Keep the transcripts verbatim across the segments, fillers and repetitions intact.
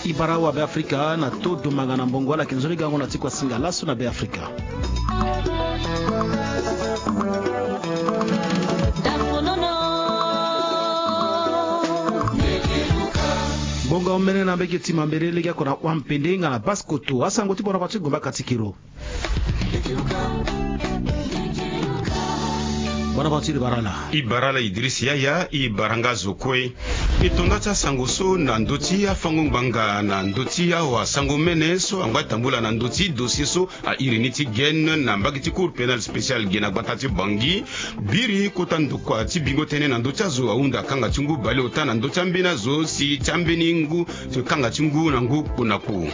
Ibara wa Beafrika na to dumbanga na mbongo ala yeke nzoni gango na ti kuasinga laso na Beafrika. Bonga omene na mbege ti mambele lege oko na Wampende nga na Basse-Kotto, asango ti bona pa ti gumba katikiro. Bona pa ti libara ala. Ibara ala Idriss Yaya, ibara nga zo kue. E to nda ti asango so na ndö ti afango ngbanga na ndö ti awasango mene so angba tambula na ndö ti dossier so a iri ni ti Guyane na mbage ti Cour pénale spéciale ge na gbata ti Bangui. Biri kota ndokua ti bingo tënë na ndö ti azo ahunda kanga ti ngu baleota na ndö ti ambeni azo si ti ambeni ngu ti kanga ti ngu na ngu kpo na kpo.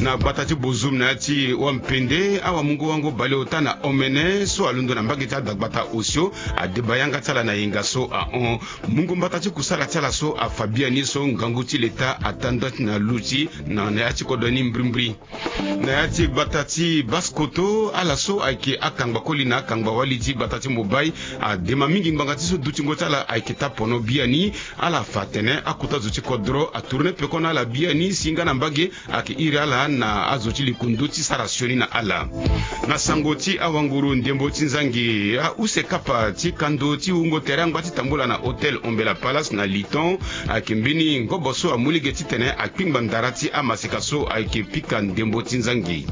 Na gbata ti Bozoum na ya ti Wampende, awamungo-wango baleota na omene so alondo na mbage ti adagbata osio adeba yanga ti ala na yenga so ahon. Mungo mbata ti kusala ti ala so afa biani so ngangu ti leta ata nda ti na luti na ya ti kodro ni mbrimbri. Na ya ti gbata ti Basse-Kotto, ala so ayeke akangba koli na akangba wali ti gbata ti Mobay adema mingi ngbanga ti so dutingo ti ala ayeke ta pono biani. Ala fa atene akota zo ti kodro atourne peko na ala biani si nga na mbage ayeke iri ala na azo ti likundu ti sara sioni na ala. Na sango ti awanguru ndembo ti nzangi, ahusekapa ti kando ti wungo tere angba ti tambula na hôtel Ombela Palace na Liton ayeke mbeni ngobo so amu lege titene akpingba ndara ti amaseka so ayeke pika ndembo ti nzangi.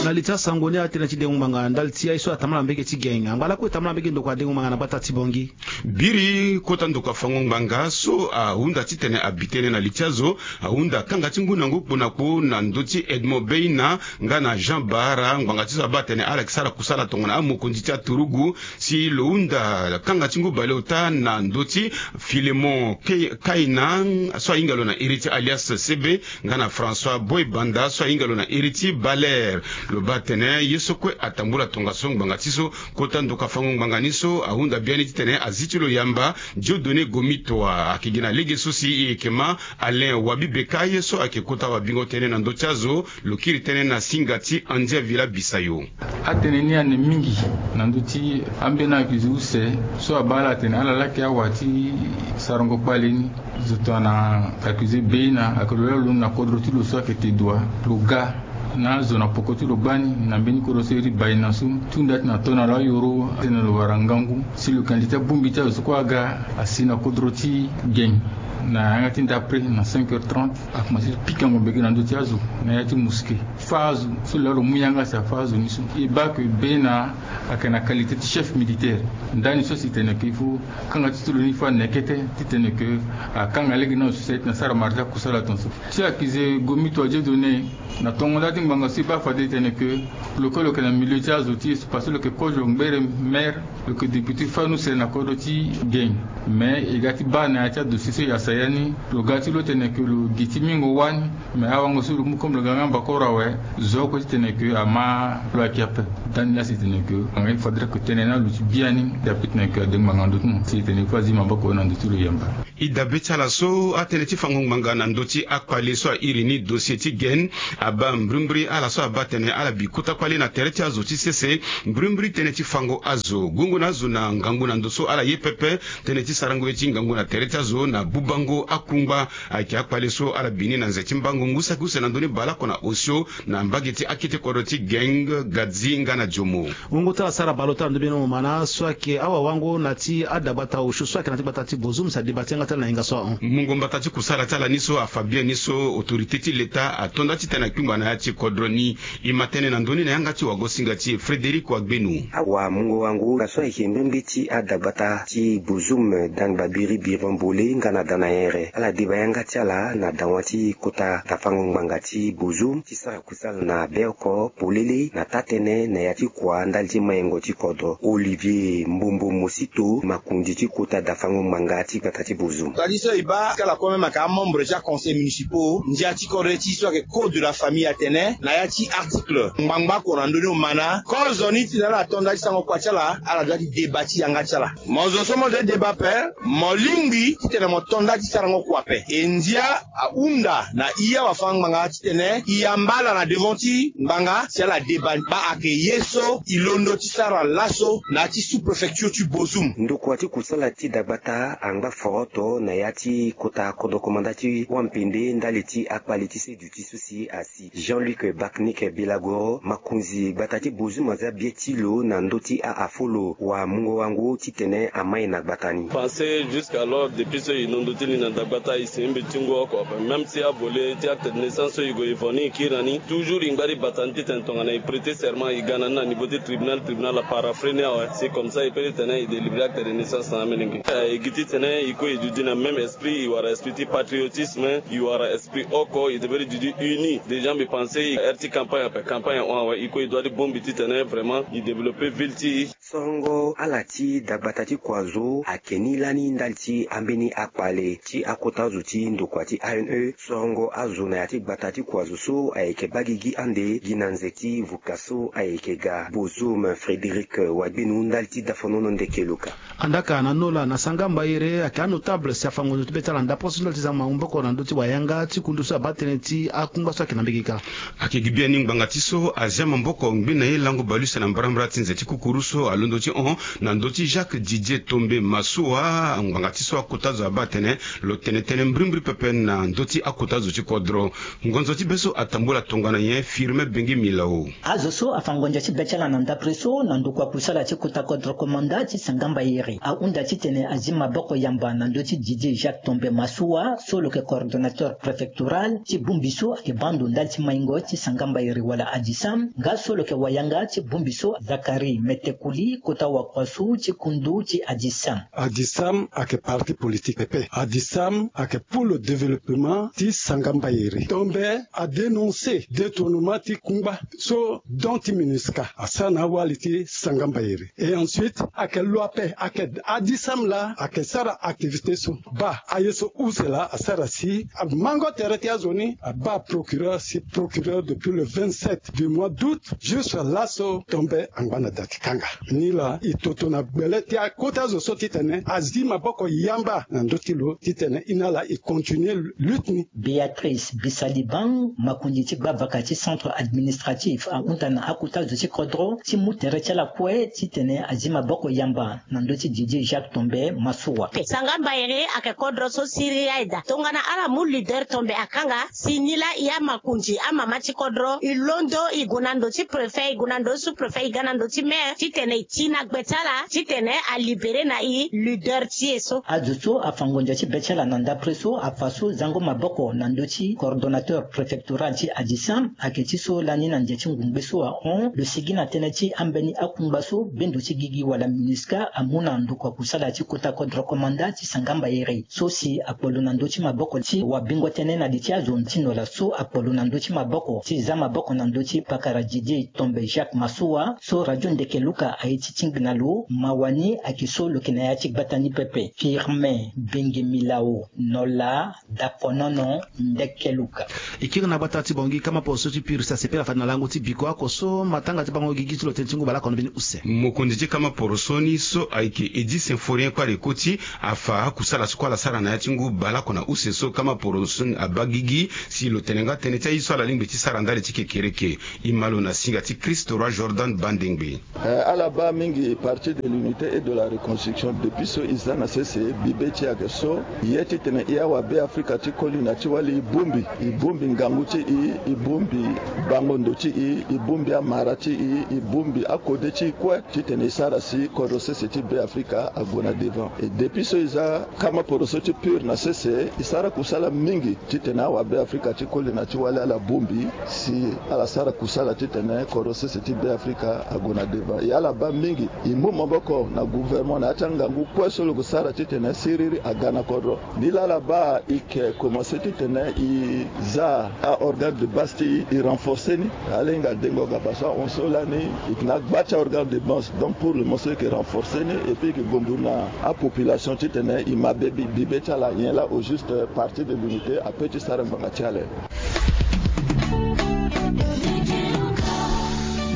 Na li ti asango ni atene ti dengo ngbanga ndali ti aye so atambula na mbage ti Geng angba lakue tambula na mbage ndokua dengo ngbanga na gbata ti Bangui. Biri kota ndokua fango ngbanga so ahunda titene abi tënë na li ti azo ahunda kanga ti ngu na ngu kpo na kpo na ndö ti Edmond Beina nga na Jean Bahara ngbanga ti so abaa atene ala yeke sara kusala tongana amokonzi ti aturugu si lo hunda kanga ti ngu baleota na ndö ti Filemon Ke- Kaina so ahinga lo na iri ti alias Sebe nga na François Boy Banda so ahinga lo na iri ti Baler. Lo baa atene ye so kue atambula tongaso ngbanga ti so kota ndoka fango ngbanga ni so ahunda biani titene azi ti lo yamba. Dieudonné Gomitwa ayeke gi na lege so si e yeke ma Alain Wabi Beka ye so ayeke kota wabingo tënë na ndö ti azo. Lo kiri tënë na singa ti Andia Villa Bisayo. Atënë ni ane mingi na ndö ti ambeni accusé use so abaa ala atene ala laki awa ti sarango kpale ni. Zo tongana accusé Beina ayeke lo laa lo londo na kodro ti lo so ayeke Tedoua. Lo ga na azo na poko ti lo gbani na mbeni kodro so iri Baina so ti hunda ti na to na lo ayoro atene lo wara ngangu si lo yeke na li ti abongbi ti azo so kue aga asi na kodro ti Geng. Na yanga ti ndapre na cinq heures trente akomanse ti pikango mbege na ndö ti azo na ya ti mosquée. Fâ azo so lo laa lo mu yanga si afâ azo ni so. E baa que Beina ayeke na qualité ti chef militaire. Ndani so si tene que il faut kanga ti ti lo ni fâ nekete titene que akanga lege na azo so si aye ti na sara mara ti akusala tongaso. Ti accusé Gomitwa Dieudonné, na tongo nda ti ngbanga so e baa fade tene que lo kue lo yeke na milieu ti azo ti e so parce que lo yeke kozo ngbere maire, lo yeke député fani use na kodro ti Geng. Mais e ga ti baa na ya ti adossier so e yasa ya ni, lo ga ti lo tene que lo gi ti mingo wani. Mais awango so lo mu comme lo ga nga mbakoro awe, zo oko titene que ama lo ayeke ape. Ndani laa si tene que anga il faudrait que tënë ni aluti biani. Dape titene que adengo ngbanga na ndö ti mo si tene il faut azi maboko na ndö ti lo yamba. E dabe ti ala so atënë ti fango ngbanga na ndö ti akpale so airi ni dossier ti Guyane abaa mbrimbri ala so abaa atene ala bi kota kpale na tere ti azo ti sese. Mbrimbri tënë ti fango azo, gongo na azo na ngangu na ndo so ala ye pepe. Tënë ti sarango ye ti ngangu na tere ti azo na bubango akungba ayeke akpale so ala bi ni na nze ti mbango ngu saki use na ndö ni baleoko na osio na mbage ti akete kodro ti Geng, Gadzi nga na Diomo. Wungo ti ala sara baleota na ndö bino mo ma na so ayeke awawango na ti adagbata osio so ayeke na ti gbata ti Bozoum si adeba ti yanga ti ala na hinga so ahon. Mungo mbata ti kusala ti ala ni so afa biani so autorité ti leta ato nda titene akpingba na ya ti kodro ni. E ma tënë na ndö ni na yanga ti wagosinga ti e Frédéric Wagbenu. Awamungo-wango na so ayeke mbrimbri ti adagbata ti Bozoum, dan babiri biron bole nga na dan na here ala deba yanga ti ala na dawa ti kota dafango ngbanga ti Bozoum ti sara kusala na beoko polele na taa-tënë na ya ti kua ndali ti mayengo ti kodro. Olivier Mbombo Mosito, makonzi ti kota dafango ngbanga ti gbata ti Bozoum. Tali so e baa si ala kue même ayeke amembre ti aconseil municipaux, ndia ti kodro ti e so ayeke code de la Famille atene na ya ti article ngbangba oko na ndö ni omana kozo ni titene ala to nda ti sango kua ti ala, ala doit ti débat ti yanga ti ala. Mo zo so mo zo ti débat ape, mo lingbi titene mo to nda ti sarango kua ape. E ndia ahunda na i awafâ ngbanga titene i yamba ala na devant ti ngbanga si ala débat. Baa ayeke ye so i londo ti sara laso na ya ti sous-préfecture ti Bozoum. Ndokua ti kusala ti dagbata angba foroto na ya ti kota kodro komanda ti wampende ndali ti akpale ti seduti so si asi Jean-Luc Bacnic Bilagoro, makonzi gbata ti Bozoum, aza bie ti lo na ndö ti a-afo lo wa mungo wango titene amai na gbata ni. Pensé jusqu'alors, depuis so e londo ti li na dagbata, e si mbi ti ngu oko ape. Même si avole ti acte de naissance so e gue e vo ni e kiri na ni, toujours e ngba ti bata ni titene tongana e prêter serment e ga na ni na niveau ti tribunal, tribunal aparaphré ni awe. C'est comme ça e peut titene e délivrer acte de naissance na amolenge. E gi titene e kue e duti na même esprit, e wara esprit ti patriotisme, e wara esprit oko, e devait duti uni. Déjà mbi pensé e heure ti campagne ape, campagne ahon awe, e kue e doit ti bongbi titene vraiment e développer ville ti e. Sorongo ala ti dagbata ti kua zo ayeke ni lani ndali ti ambeni akpale ti akota zo ti ndokua ti A N E. Sorongo azo na ya ti gbata ti kua zo so ayeke baa gigi ande gi na nze ti vuka so ayeke ga. Bozoum, Frédéric Wagbenu ndali ti dafonono ndeke luka. Andaka na nola na sanga mbayere ayeke anotable si afa ngonzo ti be ti ala ndapre so ndali ti za maboko na ndö ti wayanga ti kundu so abaa tënë ti akungba so ayeke na mbege kâ. Ayeke gi biani ngbanga ti so azia maboko ngbe na ye lango baleuse na mbarambara ti nze ti kukuru so alondo ti hon na ndö ti Jacques Didier Tombe Massoua. Ngbanga ti so akota zo abaa atene lo tene tënë mbrimbri pepe na ndö ti akota zo ti kodro. Ngonzo ti be so atambula tongana nyen? Firme Bengi Milao. Azo so afa ngonzo ti be ti ala na ndapre so na ndokua kusala ti kota kodro komanda ti sanga mbayere ahunda titene azi maboko yamba na ndö ti Didier Jacques Tombe Massoua so lo yeke coordonnateur préfectoral ti bongbi so ayeke baa ndo ndali ti maingo ti sanga mbayere wala ADISAM, nga so lo yeke wayanga ti bongbi so Zacharie Metekuli kota wakua so ti kundu ti ADISAM. ADISAM ayeke parti politique pepe. ADISAM ayeke pour le développement ti sanga mbayere. Tombe a dénoncé détournement ti kungba so don ti MINUSCA asara na awali ti sanga mbayere. Et ensuite ayeke lo ape ayeke ADISAM laa ayeke sara activité so. Baa aye so use laa asara si amango tere ti azo ni abaa procureur si procureur depuis le vingt-sept du mois d'août jusque laso Tombe angba na da ti kanga. Nilaa e toto na gbele ti akota zo so titene azi maboko yamba na ndö ti lo titene e na ala e continuer lutte ni. Béatrice Bisaliban, makonzi ti gbavaka ti centre administratif, ahunda na akota zo ti kodro ti mu tere ti ala kue titene azi maboko yamba na ndö ti Didier Jacques Tombe Massoua. Sanga mbayere ayeke kodro so siriri aye daa. Tongana ala mu leader Tombe akanga, si nilaa e amakonzi amama ti kodro e londo e gue na ndo ti préfet, e gue na ndo ti sous-préfet, e ga na ndo ti maire titene e ti na gbe ti ala titene a libérer na e leader ti e so. Azo so afa ngonzo ti be ti ala na ndapre so afa so zango maboko na ndö ti coordonnateur préfectoral ti ADISAM ayeke ti so lani na nze ti ngungbe so ahon lo sigi na tënë ti ambeni akungba so bendo ti gigi wala MINUSCA amu na ndokua kusala ti kota kodro komanda ti sanga mbayere so si akpo lo na ndö ti maboko ti wabingo tënë na li ti azo ti nola so akpo lo na ndö ti maboko ti za maboko na ndö ti pakara Didier Tombe Jacques Massoua so radio ndeke luka aye ti tingbi na lo mawa ni ayeke so lo yeke na ya ti gbata ni pepe. Firmin Benge Milao, nola, dakonono, ndeke luka. E kiri na gbata ti Bangui, kama poroso ti Pur si asepela fade na lango ti biko oko so matanga ti bango gigi ti lo tënë ti ngu baleoko na mbeni use. Mokonzi ti kama poroso ni so ayeke Eddy Symphorien kue ala koti afa akusala so kue ala sara na ya ti ngu baleoko na use so kama poroso ni abaa gigi si lo tene nga tënë ti aye so ala lingbi ti sara ndali ti kekereke. E ma lo na singa ti Christ Roi Jordan Bandengbe. Eh, ala baa mingi Parti de l'Unité et de la Reconstruction depuis so e za na sese bibe ti e ayeke so, e ye titene e awabe Afrika ti koli na ti wali e bongbi, e bongbi ngangu ti e, e bongbi bango ndo ti e, e bongbi amara ti e, e bongbi akode ti e kue titene e sara si kodro sese ti Be Afrika ague na devant. Et depuis so e za kama poroso ti Pur na sese, e sara kusala mingi titene awabe Afrika ti koli na ti wali ala bongbi si ala sara kusala titene kodro sese ti Be Afrika ague na devant. E ala baa mingi e mu maboko na gouvernement na ya ti angangu kue so lo ke sara titene siriri aga na kodro. Nilaa ala baa e yeke komanse titene e za a-organe de base ti e, e renforcer ni. Ala hinga dengo ga parce que ahon so lani e yeke na agba ti a-organe de base. Donc pour le moment so e yeke renforcer ni et puis e yeke gondu na apopulation titene e ma be bibe ti ala. Nyen laa au juste Parti de l'Unité ape ti sara ngbanga ti ala.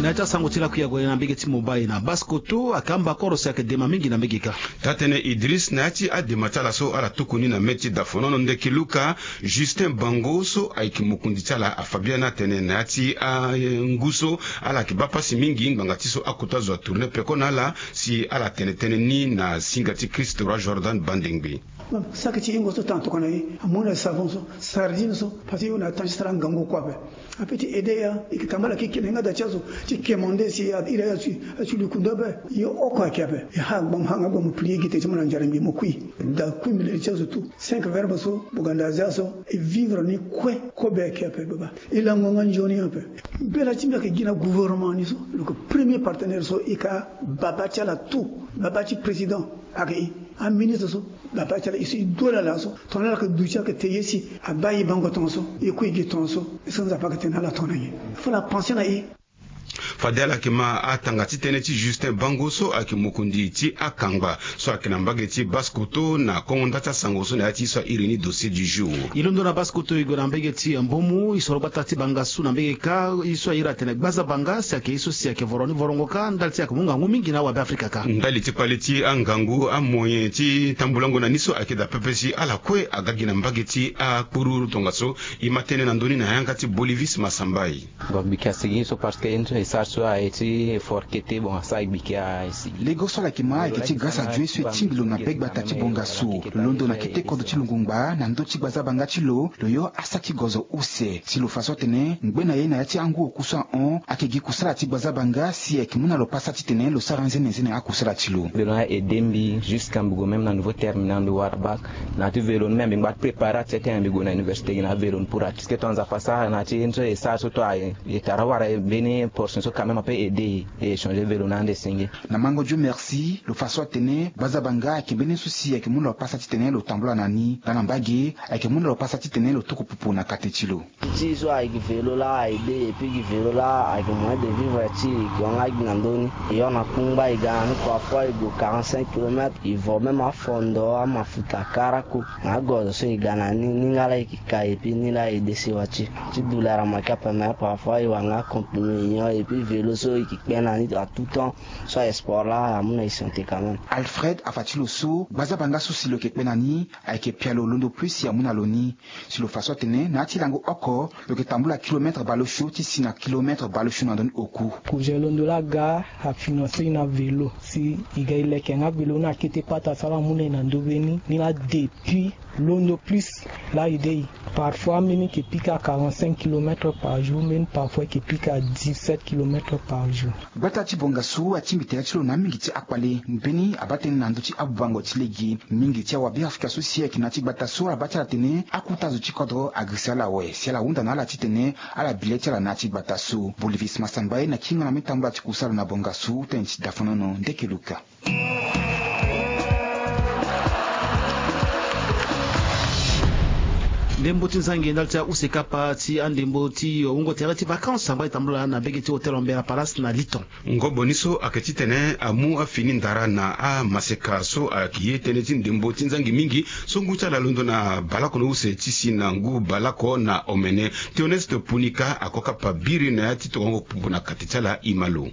Na ya ti asango ti lakui ague na mbege ti Mumbai na Basse-Kotto, akamba koro si ayeke dema mingi na mbege kâ. Taa-tënë Idriss, na ya ti adema ti ala so ala tuku ni na mê ti dafonono, ndeke luka Justin Bango so ayeke mokonzi ti ala afa biani atene na ya ti angu so ala yeke baa pasi mingi ngbanga ti so akota zo atourne peko na ala, si ala tene tënë ni na singa ti Christ roi Jordan Bandengbe. Saki ti hingo so tan tokua na e, amu na savon so, sardine so, parce que e hunda na temps ti sara ngangu kue ape. Ape ti aidé e, e yeke tambala keke na hinga da ti azo ti quémander si e iri aye ati, ati lukundu ape. E oko ayeke ape. E ha gba mo, ha nga gba mo plier gi tene ti mo na nzara mbi mo kui. Da kui mbi lele ti azo tout. Cinq verbes so, boganda azia so, e vivre ni kue, kobe ayeke ape baba. E lango nga nzoni ape. Mbela ti mbi ayeke gi na gouvernement ni so, lo yeke premier partenaire so e ka baba ti ala tout, baba ti président. Ayeke e, aministre so, baba ti ala e so e du ala laso, tongana ala yeke duti ayeke te ye si, abaa e bango tongaso, e kui gi tongaso, e so Nzapa ayeke tene na ala tongana nyen? Fo ala pense na e. Fade ala yeke ma atanga ti tënë ti Justin Bango so ayeke mokonzi ti akangba so ayeke na mbage ti Basse-Kotto na kongo nda ti asango so na ya ti e so airi ni dossier du jour. E londo na Basse-Kotto e gue na mbage ti Mbomou, e soro gbata ti bangasu na mbage kâ, e so airi atene Gbazabanga, si ayeke e so si ayeke voro ni vorongo kâ, ndali ti ayeke mu ngangu mingi na awabe Afrika kâ. Ndali ti kpale ti angangu, amoyen ti tambulango na ni so ayeke daa pepe si ala kue aga gi na mbage ti akpururu tongaso, e ma tënë na ndö ni na yanga ti Bolivis Masambai. Bon, mbi yeke asigi so parce que e so e sara so aye ti forkete, bon, asara e gbiki asigi. Lego so ala yeke ma ayeke ti grâce à Dieu so e tingbi lo na be gbata ti bonga so. Lo londo na kete kodro ti lo ngongba na ndö ti gbazabanga ti lo, lo yo asa ti gozo use. Si lo fa so atene ngbe na ye na ya ti angu oku so ahon, ayeke gi kusala ti gbazabanga si ayeke mu na lo pasa titene lo sara nzenenzene akusala ti lo. Velo ni a aidé mbi jusqu'à mbi gue même na niveau terminal mbi wara bac. Na ya ti velo ni même mbi ngba préparer ati titene mbi gue na université gi na velo ni pour ati. Parce que ton Nzapa asara na ya ti ye ni so e sara so ton aye. E tara wara e mbeni portion so quand même ape aidé e, e échanger velo na ande senge. Na mango Dieu merci, lo fa so atene gbazabanga ayeke mbeni so si ayeke mu na lo pasa titene lo tambula na ni. Nga na mbage, ayeke mu na lo pasa titene lo tuku pupu na kate ti lo. Ti so ayeke velo laa aidé, et puis gi velo laa ayeke moyen de vivre ti e, e yeke hon nga gi na ndö ni. E hon na kungba e ga na ni, parfois e gue quarante-cinq kilomètres, e vo même afondo, amafuta, karako. Na agozo so e ga na ni, ni nga laa e yeke kai, et puis ni laa e dé sewa ti e. Ti douleur ama ki ape, mais parfois e wara nga comprimé e nyon, et puis velo so e yeke kpe na ni à tout temps. So aye sport laa amu na e santé quand même. Alfred afa ti lo so, gbazabanga so si lo yeke kpe na ni, ayeke pialo londo plus si amu na lo ni. Si lo fa so atene na ya ti lango oko, lo yeke tambula kilomètre baleosio ti si na kilomètre baleosio na ndö ni oku. Projet londo laa aga afinancer e na velo si e ga e leke nga velo ni na kete pata so ala mu na e na ndö be ni, ni laa depuis londo plus laa e dé e. Parfois mbeni e yeke pika quarante-cinq kilomètres par jour, mbeni parfois e yeke pika dix-sept kilomètres par jour. Gbata ti bonga so atingbi tere ti lo na amingi ti akpale. Mbeni abaa tënë na ndö ti abubango ti lege. Mingi ti awabe Afrika so si ayeke na ya ti gbata so abaa ti ala tene akuta zo ti kodro agirisa ala awe si ala hunda na ala titene ala bi le ti ala na ya ti gbata so. Bolivis Masambai na kingo na mê tambula ti kusala na bonga so, tënë ti dafonono Ndeke Luka. Ndembo ti nzangi ndali ti use kapa ti andembo ti wungo tere ti vacances angba e tambula na mbege ti hôtel Ambera Palace na Liton. Ngobo ni so ayeke titene amu afini ndara na amaseka so ayeke ye tënë ti ndembo ti nzangi mingi so ngu ti ala londo na baleoko na use ti si na ngu baleoko na omene. Théoneste Punika ako kapa biri na ya ti tokongo pupu na kate ti ala, e ma lo.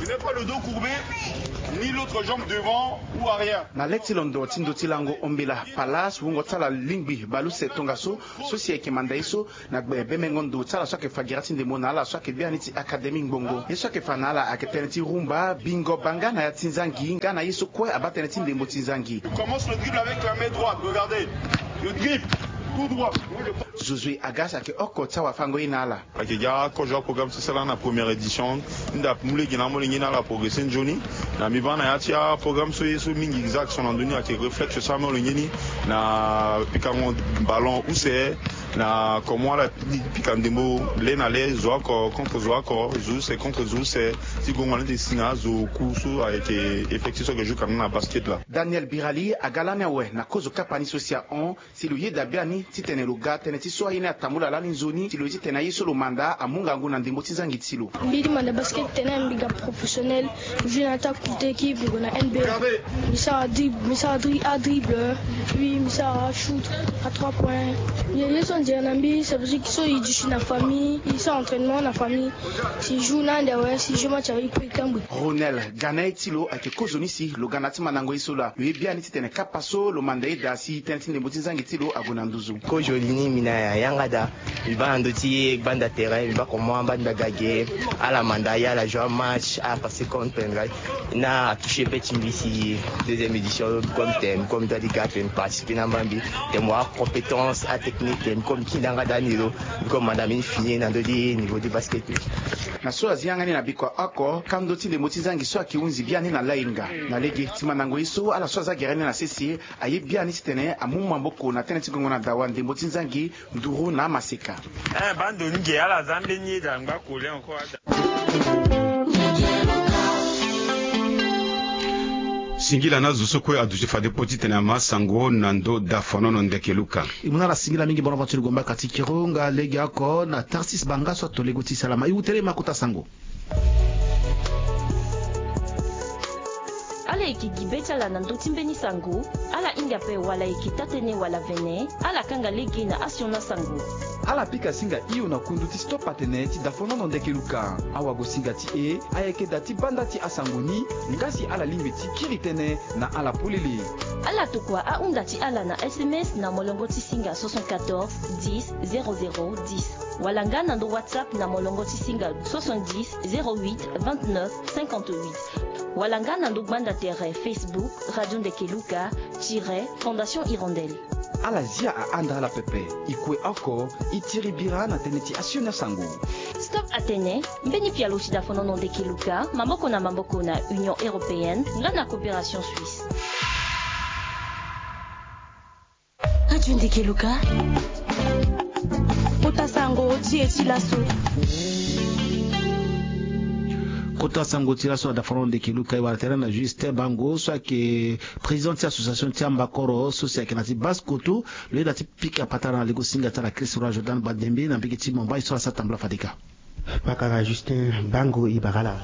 Je n'ai pas le dos courbé, ni l'autre jambe devant ou arrière. Na le ti londo ti ndo ti lango Ambera Palace, wungo ti ala lingbi baleuse tongaso, so si ayeke manda ye so na gbe bemengo ndo ti ala so ayeke fa gira ti ndembo na ala so ayeke biani ti Académie Ngbongo. Ye so ayeke fa na ala ayeke tënë ti rumba, bingo banga na ya ti nzangi, nga na ye so kue abaa tënë ti ndembo ti nzangi. Je commence le dribble avec la main droite, regardez. Je dribble tout droit. Josué Agas ayeke oko ti awafango ye na ala. Ayeke ga kozo aprogramme so e sara na première édition. Nda mu lege na amolenge ni ala progresser nzoni. Na mbi baa na ya ti aprogramme so ye so mingi exact so na ndö ni ayeke réflexe so amolenge ni na pikango ballon use, na comment ala pika ndembo le na le, zo oko contre zo oko, zo use contre zo use, ti gongo na ni ti si na azo oku so ayeke effectif so ayeke joue kana na basket laa. Daniel Birali aga lani awe na kozo kapa ni so si ahon. Si lo yeda biani titene lo ga tënë ti so aye ni atambula lani nzoni, si lo ye titene aye so lo manda amu ngangu na ndembo ti nzangi ti lo. Mbi di manda basket tene mbi ga professionnel, mbi joue na ya ti akute équipe, mbi gue na N B A. Mbi sara drib-, mbi sara dri-, adribble, puis mbi sara ashoot, à trois points. Mbi ye so Nzere na mbi, ça veut dire que so e duti na famille, e sara entraînement na famille, si e joue na ande awe, si e joue match awe, e peut e tambue. Ronel, ga na ye ti lo ayeke kozoni si lo ga na ya ti mandango ye so laa. Lo ye biani titene kapa so lo manda ye daa si tënë ti ndembo ti nzangi ti lo ague na nduzu. Kozoni ni mbi na yanga daa. Mbi baa na ndö ti gbanda terrain, mbi baa comment mbani mbi aga ge, ala manda ye, ala joue amatch, ala passer contre pendra. Na atoucher pe ti mbi si deuxième édition comme thème, comme mbi doit di ga tene mbi participer na mbani mbi, tene mo a compétence, atechnique, tene mbi comme mbi ti ndanga daa ni lo, mbi comme manda mbi fini na ndö ti niveau ti basket. Na so azi yanga ni na bikua oko, kando ti ndembo ti nzangi so ayeke hunzi biani na lainga. Na lege ti mandango ye so ala so aza gere ni na sese, aye biani titene amu maboko na tënë ti gongo na dawa ndembo ti nzangi nduru na amaseka. Eh, bando ni ge ala za mbeni ye daa ngba kole encore ada. Singila na zo so kue aduti fade po titene ama sango na ndo dafanono ndeke luka. E mu na ala singila mingi bonaventure gomba kati kiro nga lege oko na tarsis banga so ato lego ti salama e wu tere ma kota sango. Ala yeke gi be ti ala na ndö ti mbeni sango. Ala hinga ape wala e yeke taa-tënë wala vene, ala kanga lege na asioni asango. Ala pika singa hio na kundu ti stop atene ti dafonono ndeke luka. Awagosinga ti e ayeke daa ti banda ti asango ni. Nga si ala lingbi ti kiri tënë na ala polele. Ala tokua ahunda ti ala na sms na molongo ti singa soixante quatorze dix zéro zéro dix, wala nga na ndo whatsapp na molongo ti singa soixante dix zéro huit vingt neuf cinquante huit, wala nga na ndo gbanda tere facebook radio ndeke luka tire fondation hirondelle. Ala zia ahanda ala pepe. E kue oko e tiri bira na tënë ti asioni asango. Stop atene mbeni pialo ti dafonono ndeke luka maboko na maboko na union européenne nga na coopération suisse. Radio ndeke luka. Kota sango ti e ti laso. Kota sango ti laso na dafonono ndeke luka e wara tere na juste bango so ayeke président ti association ti ambakoro so si ayeke na ti basse koto. Lo yeda ti pika patara na lego singa ti ala christ roi jordan badembe na mbege ti mombai so ala sara tambula fadeka. Pakara justin bango e bara ala.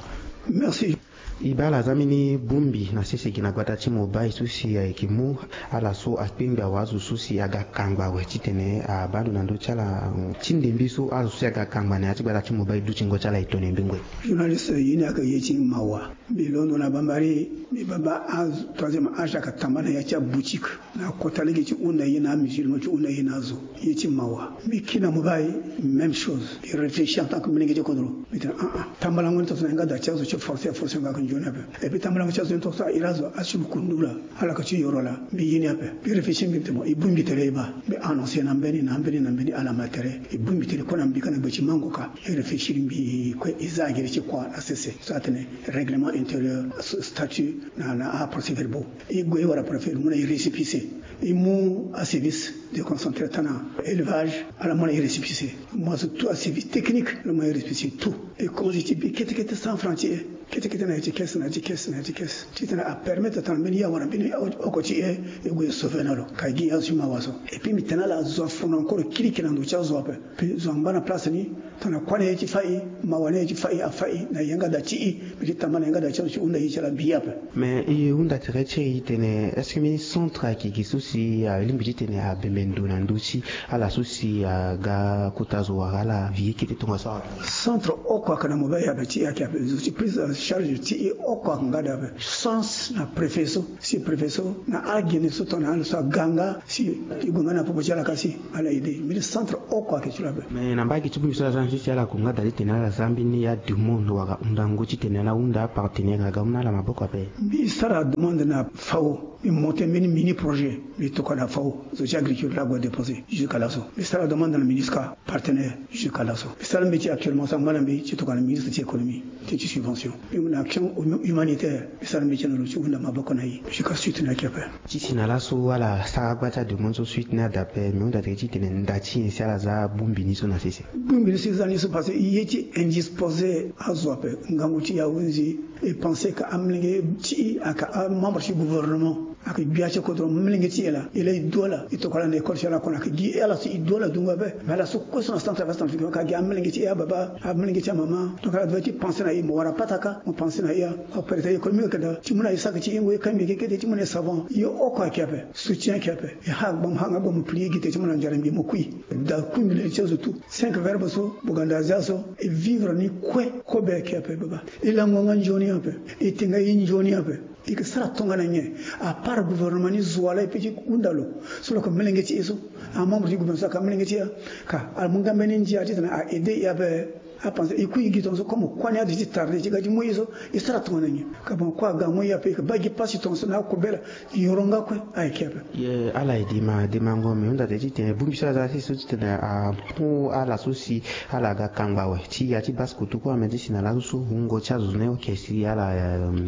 Merci. E baa ala za mbeni bongbi na sese gi na gbata ti mobile so si ayeke mu ala so akpengbi awazo so si aga kangba awe titene abaa ndo na ndö ti ala ti ndembi so azo so si aga kangba na ya ti gbata ti mobile dutingo ti ala e tone mbi ngoi. Journaliste ye ni ayeke ye ti mawa. Mbi londo na bambari mbi baba azo troisième âge ayeke tamba na ya ti aboutique. Na kota lege ti hunda ye na amusulman ti hunda ye na azo. Ye ti mawa mbi kiri na mobile. Même chose mbi réfléchir en tant que molenge ti kodro. Mbi tene aa tambalango ni tongaso na yanga daa ti azo ti forcer aforcer nga ayeke nzoni ape. Et puis tambalango ti azo ni tongaso ahiri azo asi lo kundu laa. Ala yeke ti yoro laa mbi ye ni ape. Mbi réfléchir mbi tene e bongbi tere e baa. Mbi annoncer na mbeni na mbeni na mbeni ala ma tere. E bongbi tere kue na mbi ka na gbe ti mango ka. E réfléchir mbi kue e za agere ti kua na sese so atene règlement intérieur statut na na aprocès verbaux. E gue e wara préfet lo mu na e récépissé. E mu aservice déconcentré tana élevage ala mu na e récépissé. Mo azo tout aservice technique lo mu na e récépissé tout. E komanse ti bi kete kete cent francs ti e. Kete kete na ya ti caisse na ya ti caisse na ya ti caisse titene apermettre tana mbeni ya wala mbeni oko ti e. E gue e sauver na lo ka e gi azo ti mawa so. Et puis mbi tene ala zo afono encore kirikiri na ndo ti azo ape. Puis zo angba na place ni tongana kua na ye ti fai mawa na ye ti fai afai na yanga daa ti i. Mbi ti tamba na yanga daa ti azo ti hunda ye ti ala mbi ye ape. Mais e hunda tere ti e tene est-ce que mbeni centre ayeke gi so si alingbi titene abembe ndo na ndö ti ala so si aga kota zo wala ala vie kete tongaso awe? Centre oko ayeke na mobile ape ti e ayeke ape zo ti prise en charge ti e oko ayeke nga daa ape. Sens na préfet so si préfet so na agene so tongana ala so aga nga si e gue nga na popo ti ala ka si ala aide mbeni centre oko ayeke ti lo ape. Mais na mbage ti bongbi so ala za na sese ala yeke nga daa titene ala za mbeni ademande wala hundango titene ala hunda apartenaire aga mu na ala maboko ape. Mbi sara demande na fao. Mbi monter mbeni mini projet. Mbi tokua na fao zo ti agriculture ague déposer jusqu'à laso. Mbi sara demande na ministre ka partenaire jusqu'à laso. Mbi sara mbeti actuellement so angba na mbi ti tokua na ministre ti économie ti ti subvention. Mbi mu na action humanitaire. Mbi sara mbeti na lo ti hunda maboko na e jusqu'à suite ni ayeke ape. Ti si na laso ala sara gba ti ademande so suite ni ada ape mbi hunda tere titene nda ti nyen si ala za bongbi ni so na sese? Bongbi ni so e za ni so parce que e ye ti indisposer azo ape ngangu ti e ahunzi. E pense ka amolenge ti e aka amembre ti gouvernement. Ayeke gbia ti kodro, molenge ti e laa, e laa e du ala, e tokua ala na école ti ala kue na ayeke gi ala so e du ala dungo ape. Mais ala so kue so na centre affaires centrafricain ka gi amolenge ti e, ababa, amolenge ti amama. Donc ala devait ti pensé na e, mo wara pataka mo pensé na e. Apere ta économie ayeke daa ti mu na e sac ti hingo, e kangbi kekete ti mu na e savon, e oko ayeke ape, soutien ayeke ape. E ha gba mo ha nga gba mo pli e gi te ti mu na nzara mbi mo kui. Da kundu le ti azo tout cinq verbe so boganda azia so e vivre ni kue. Kobe ayeke ape baba. E lango nga nzoni ape. E tenga e nzoni ape. E ke sara tongana nyen? À part gouvernement ni zo ala e pe ti hunda lo. So lo yeke molenge ti e so, amembre ti gouvernement so ayeke amolenge ti e. Ka amu nga mbeni ndia titene a aidé e ape. Apense e kui e gi tongaso comme kue ni ade ti tarde ti ga ti mu e so. E sara tongana nyen? Ka bon kue aga mu e ape, e ke baa gi pasi tongaso na akobela. Yoro nga kue ayeke ape. Ye ala e dema demango me hunda te titene bongbi so aza si so titene amu ala so si ala ga kangba awe ti ya ti base koto kue ame ti si na laso so wungo ti azo ni oke si ala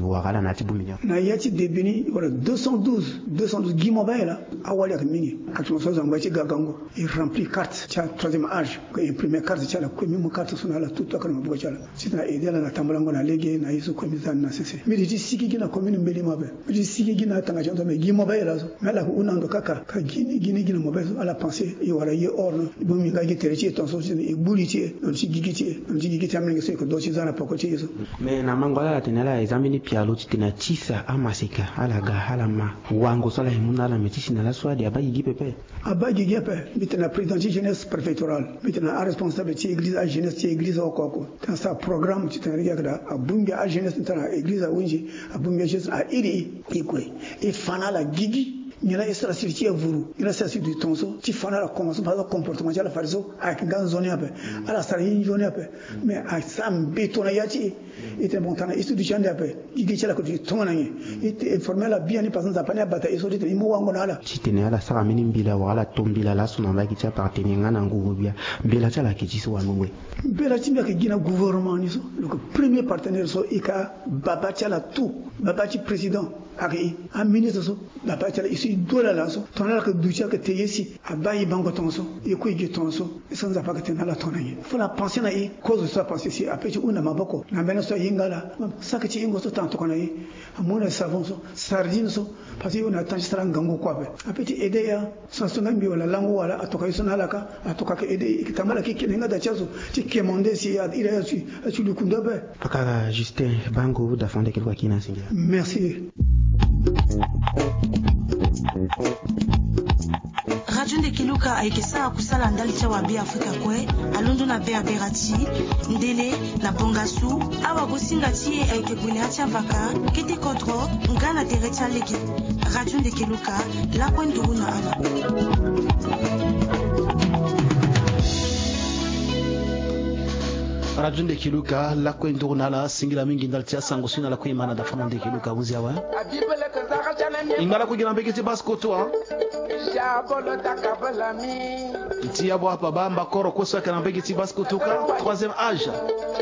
wara ala na ya ti bongbi ni. Na ya ti début ni wala deux cent douze, deux cent douze gi mobile laa. Awali ayeke mingi. Actuellement so azo angba ye ti ga gango, e remplir carte ti atroisième âge, e imprimer carte ti ala kue, même carte so na ala tout akana maboko ti ala. Titene aidé ala na tambolango na lege na ye so kue mbi za ni na sese. Mbi di ti sigi gi na commune mbeli mabe. Mbi di ti sigi gi na tanga ti anto me gi mobile laso. Me ala ke hunda ndo kaka ka gi ni gi ni gi na mobile so ala pensé e wala ye or no. Bon mbi nga gi tere ti e tongaso titene e gbu li ti e na lo ti gigi ti e, na lo ti gigi ti amolenge so e ke do ti za na poko ti e so. Mais na mango ala ala tene ala e za mbeni pialo titene atisa amaseka ala ga ala ma wango so ala e mu na ala me ti si na laso ade abaa gigi pepe. Abaa gigi ape. Mbi tene na président ti jeunesse préfectorale, mbi tene na aresponsable ti église, ajeunesse ti église oko oko. Tene asara programme titene lege ayeke daa abongbi ajeunesse ni tene na église ahunzi, abongbi ajeunesse airi e. E kue e fa na ala gigi. Nyen la e sara siri ti e vuru, nyen la e sara siri ti tongaso ti fa na ala commencement, comportement ti ala fade so ayeke nga nzoni ape. Ala sara ye nzoni ape. Mais asara mbeto na ya ti e. E tene bon tana e so duti ande ape. Gigi ti ala yeke duti tongana nyen? E te informer ala biani parce que Nzapa ni abata e so ti tene e mu wango na ala. Titene ala sara mbeni mbela wala ala to mbela laso na mbage ti apartenir nga na ngongo gbia. Mbela ti ala ayeke ti so wango ngoi. Mbela ti mbi ayeke gi na gouvernement ni so. Donc premier partenaire so e ka baba ti ala tout, baba ti président ayeke e. Aministre so baba ti ala e so e du ala laso. Tongana ala yeke duti ayeke te ye si. Abaa e bango tongaso, e kue e gi tongaso. E so Nzapa ayeke tene na ala tongana nyen? Fo na pensé na e, kozo so apense si ape ti hunda maboko na mbeni so ahinga ala. Saki ti hingo so tana tokua na e. Amu na e savon so, sardine so. Parce que e hunda na temps ti sara ngangu kue ape. Ape ti aidé ya. So na so nga mbi wala lango wala atoka e so na ala ka. Atoka ayeke aidé e, e ke tambala ki kene nga da ti azo ti kemande si a iri aye asu. Asu lukundu ape. Pakara Justin Bango da fande kiri kua kina singila. Merci. Radio Ndekiluka ayeke sara kusala ndali ti awa Beafrika kue, alondo na Berbera ti Ndele na Bongasu. Awa gosinga ti e ayeke gue na ya ti avaka, kete kodro nga na tere ti alege. Radio Ndekiluka, lakue nduru na ala. Radio Ndekiluka, lakue nduru na ala, singila mingi ndali ti asango si na lakue e ma na dafano Ndekiluka hunzi awe. E ngba lakue gi na mbage ti base koto. Ti ya bo apa ba mbakoro kue so ayeke na mbage ti base koto ka, troisième âge.